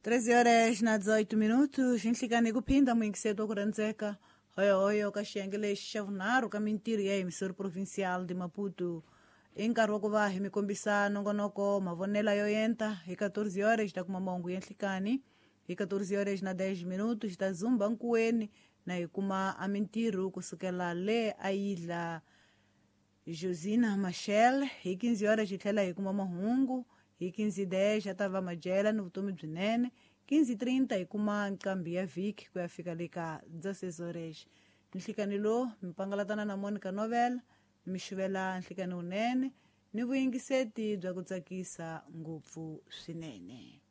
13 horas na 18 minutos nhlikani ku phinda muyingiseti wa ku rhandzeka hoyohoyo ka xiyenge lexi xa vunharhu ka mintirho ya emissor provincial de Maputo. I nkarhi wa ku va hi mi kombisa nongonoko mavonelo yo enta. Hi 14 horas ta kuma mahungu ya nhlikani. Hi 14 horas na 10 minutos ta zumba nkuweni na hi kuma a mintirho kusukela le a yidla Josina Machel. Hi 15 horas hi tlhela hi kuma mahungu. Hi 15:10 a ta va madyela ni vutomi byinene. 15:30 hi kuma nqambi ya vhiki ku ya fika le ka 16 horas. Nhlikani lowu mi pangalatana na Monica Novel, mi xuvela nhlikani wunene ni vuyingiseti bya ku tsakisa ngopfu swinene.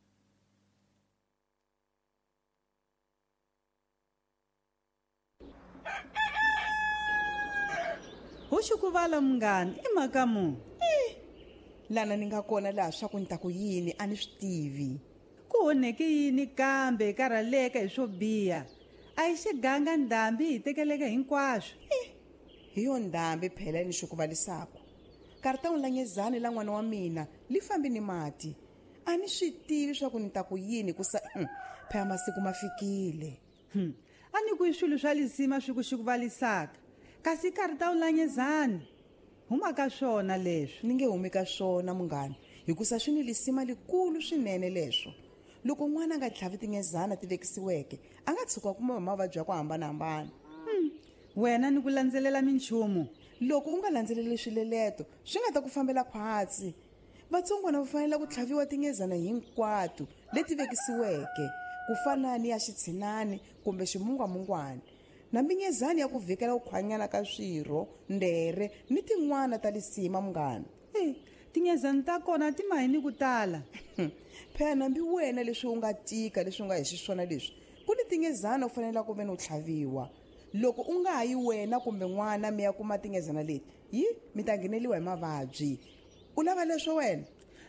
Hoxikuvala munghana i mhaka mu Lana ni nga kona laha swa ku ni ta ku yini a ni swi tivi. Ku onheke yini kambe karhaleka hi swo biha? A hi xiganga ndhambi hi tekeleke hinkwaswo. Hi yo ndhambi phela ni xi ku valisaka. Karitawu la nyezani la n'wana wa mina li fambi ni mati. A ni swi tivi swa ku ni ta ku yini ku sa phela masiku ma fikile. A ni ku i swilo swa lisima swi ku xi ku valisaka. Kasi karitawu la nyezani huma ka swona leswi. Ni nge humi ka swona munghana, hikusa swi ni lisima likulu swinene leswo. Loko n'wana a nga tlhavi tinyezana ti vekisiweke, a nga tshuka kuma hi mavabyi ya ku hambanahambana. Wena ni ku landzelela minchumu. Loko u nga landzeleli swileleto, swi nga ta ku fambela khwatsi. Vatsongwana va fanele ku tlhaviwa tinyezana hinkwato leti vekisiweke, ku fana ni ya xitshinani kumbe ximungwamungwana. Na minyezani ya ku vhikela ku khwanyana ka swirho, ndere ni tin'wana ta lisima munghana. Tinyezani ta kona ti mahi ni ku tala. Phela nambi wena leswi u nga tika leswi u nga hi xiswona leswi, ku ni tinyezana u fanele ku ve ni u tlhaviwa. Loko u nga ha yi wena kumbe n'wana mi ya kuma tinyezana leti, yi mi ta ngheneliwa hi mavabyi. U lava leswo wena?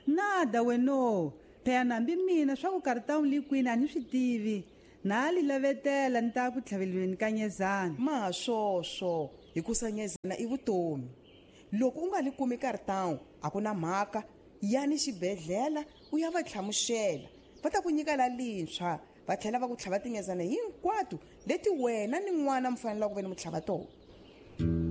Nada weno. Phela nambi mina swa ku karitawu li kwini a ni swi tivi. Na li lavetela ni ta ku tlhavelweni ka nyezana. Ma swoswo, hikusa nyezana i vutomi. Loko u nga li kumi karitawu, a ku na mhaka, yani xibedhlele u ya va tlhamuxela. Va ta ku nyika la lintshwa, va tlhela va ku tlhava tinyezana hinkwato leti wena ni n'wana mi fanelaka ku ve ni mu tlhava tona.